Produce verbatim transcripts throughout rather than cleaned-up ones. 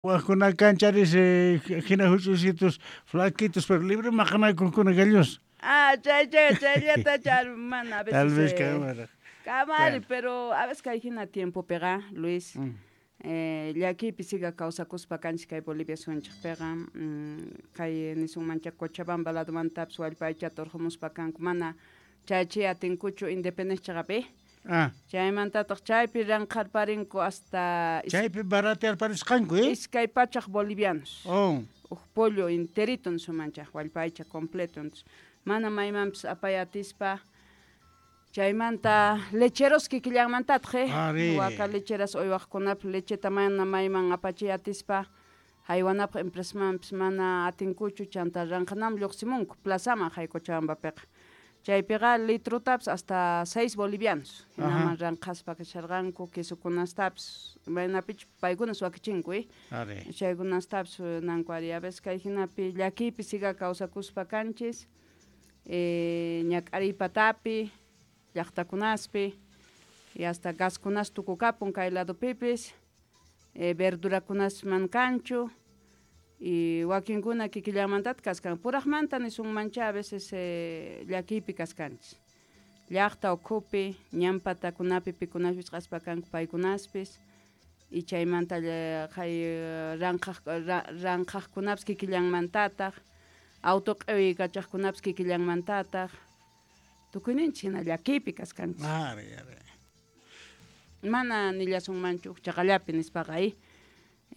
Wajkuna kancharis hina huch'uysitus flaquitos pero libre maqanakuqkuna gallos. Ah, chay chay chayllata char mana a veces. Tal vez eh, kamara. Kamari, Bueno. pero a veces kay hina tiempopiqa, Luis. Mm. Eh, llakiypi siga kawsakuspa kanchik kay Bolivia sunchikpiqa, mm, kay nisunmancha Cochabamba ladomantapis wallpa aychata urqumuspa kanku mana chayachiy atinkuchu independencia chaqapi. Ah. Chaymantataq chaypi ranqharparinku hasta Chaypi baratearparisqanku, eh? iskay pachaq bolivianos. Oh. Uj pollo enterito nisumancha, wallpa aycha completo. Entonces, mana maymanpis apay atispa chaymanta lecheros kikillanmantataq, eh? Ari. Waka lecheras uywaqkunapaq lecheta mana mayman apachiy atispa haywanapaq empresamanpis mana atinkuchu chanta ranqhanaman lluqsimunku plazaman hay Cochabambapiqa. Chaypiqa litrotapis hasta seis bolivianos. Hinaman ranqhaspa kasharqanku quesokunastapis maynapichu paykunas wakichinku, eh? Ari. Chaykunastapis nanku ari a veces kay hinapi llakiypi siga kawsakuspa kanchis, eh, ñak'ariy patapi, llaqtakunaspi, y hasta gaskunas tukukapun kay ladopipis, eh, verdurakunas man kanchu, y wakinkuna kikillanmantataq kaskan puraqmanta nisunmancha a veces eh, llakiypi kaskanchis. Llaqta ukhupi, ñan patakunapi pikunaspis qaspa kanku paykunaspis, y chaymanta hay ranqhaq ranqhaqkunapis kikillanmantataq, auto q'iwiykachaqkunapis kikillanmantataq, tukuyninchik hina llakiypi kaskanchis. Ari, ari. Mana nillasunmanchu chaqallapi nispaqa, eh?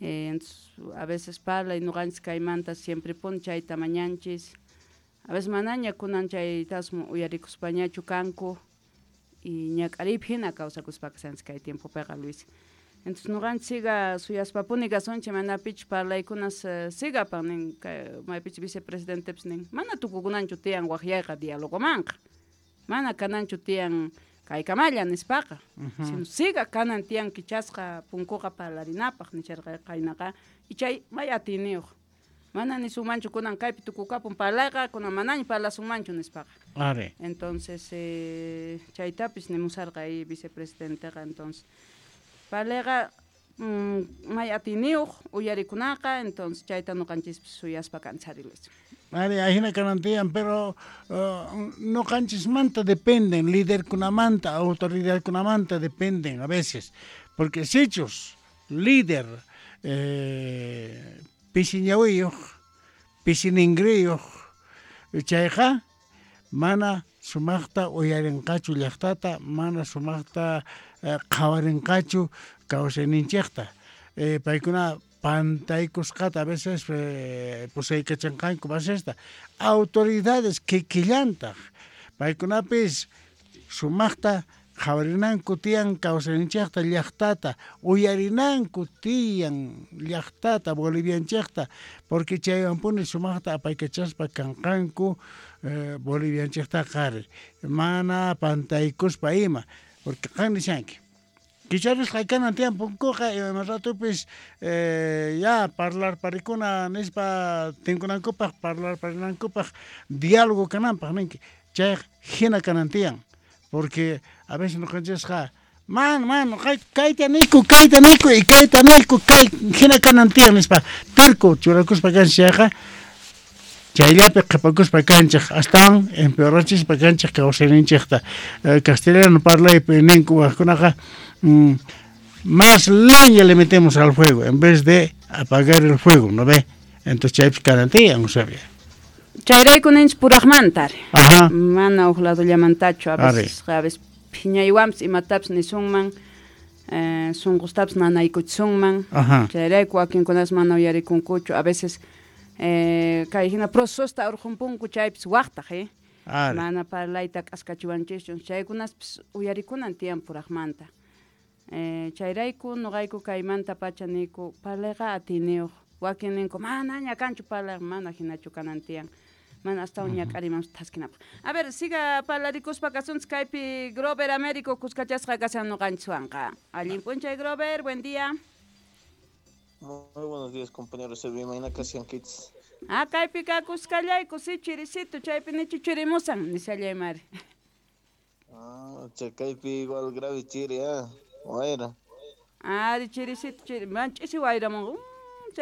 Eh, entonces, a veces parlay ñuqanchis kaymanta siempre puni chayta mañanchis. A veces manaña kunan chaytasmi uyarikuspañachu kanku y ñak'ariypi hina kawsakuspa kashanchis kay tiempopiqa, Luis. Entonces ñuqanchis siga suyaspapuni kasunchik manapichu parlaykunas sigapan nin kay maypichu vicepresidentepis nin mana tukukunanchu tiyan waqyayqa dialogomanqa. Mana kananchu tiyan kaykamalla nispaqa. Uh-huh. Sino siga kanan tiyan kichasqa punkuqa parlarinapaq nisharqa qaynaqa y chay may atiyniyuq. Mana nisunmanchu kunan kaypi tukukapun parlayqa kunan manaña parlasunmanchu nispaqa. Ari. Entonces eh, chaytapis nimusarqa ahí vicepresidenteqa entonces parlayqa mm, may atiyniyuq uyarikunaqa entonces chayta ñuqanchispis suyaspa kanchari, Luis. Ari, ahina kanan tiyan, pero uh, ñuqanchismanta dependen, liderkunamanta, autoridadkunamanta dependen a veces, porque sichus líder eh, pisi ñawiyuq, pisi ningriyuq, chayqa mana sumaqta uyarinqachu llaqtata, mana sumaqta eh, qhawarinqachu kawsayninchikta. Eh, paykuna pantaykusqata a veces eh, pusaykachanqanku basesta. Autoridades kikillantaq paykunapis sumaqta qhawarinanku tiyan kawsayninchikta llaqtata, uyarinanku tiyan llaqtata bolivianchikta, porque chaywanpuni sumaqta apaykachaspa kanqanku eh, bolivianchiktaqa ari mana pantaykuspa ima, porque qan nishanki kicharisqa kanan tiyan punkuqa ima ratupis eh, ya parlarparikuna nispa tinkunankupaq parlarparinankupaq diálogo kananpaq ninki chayqa hina kanan tiyan, porque a veces ñuqanchisqa man man kayta niyku kayta niyku y kayta niyku kay hina kanan tiyan nispa terco churakuspa kanchik chayqa chayllapi qhipakuspa kanchik astawan empeorachispa kanchik kawsayninchikta. Eh, castellano parlaypi ninku waqkunaqa mm, más leña le metemos al fuego en vez de apagar el fuego, ¿no ve? Entonces chaypis kanan tiyan, sabía. Chayrayku ninchik puraqmanta ari. Ajá. Mana uj ladollamantachu a Ari. veces, a veces phiñaywanpis imatapis nisunman, eh, sunqustapis nanaykuchisunman. Ajá. Chayrayku wakinkunas mana uyarikunkuchu, a veces eh, kay hina procesosta urqunpunku chaypis waqtaq, eh? Ari. Mana parlayta k'askachiwanchischu, chaykunaspis uyarikunan tiyan puraqmanta. Eh, chayrayku ñuqayku kaymanta pacha niyku parlayqa atiyniyuq. Wakin ninku manaña kanchu parlayqa, mana hinachu kanan tiyan. Mana astawan ñak'ariman thaskinapaq. A ver, siga parlarikuspa kasunchis kaypi Grover Américo kuskachasqa kashan ñuqanchiswanqa. Allin p'unchay Grover, buen día. Muy buenos días, compañeros. Imayna kashankichis? Ah, kaypi kakuskallayku, si chirisito, chaypi nichu chirimusan, nishallay mari. Ah, chakaypi igual grave chiri, ah, wayra. Ari chirisito, chiri, man ch'isi wayramunqa.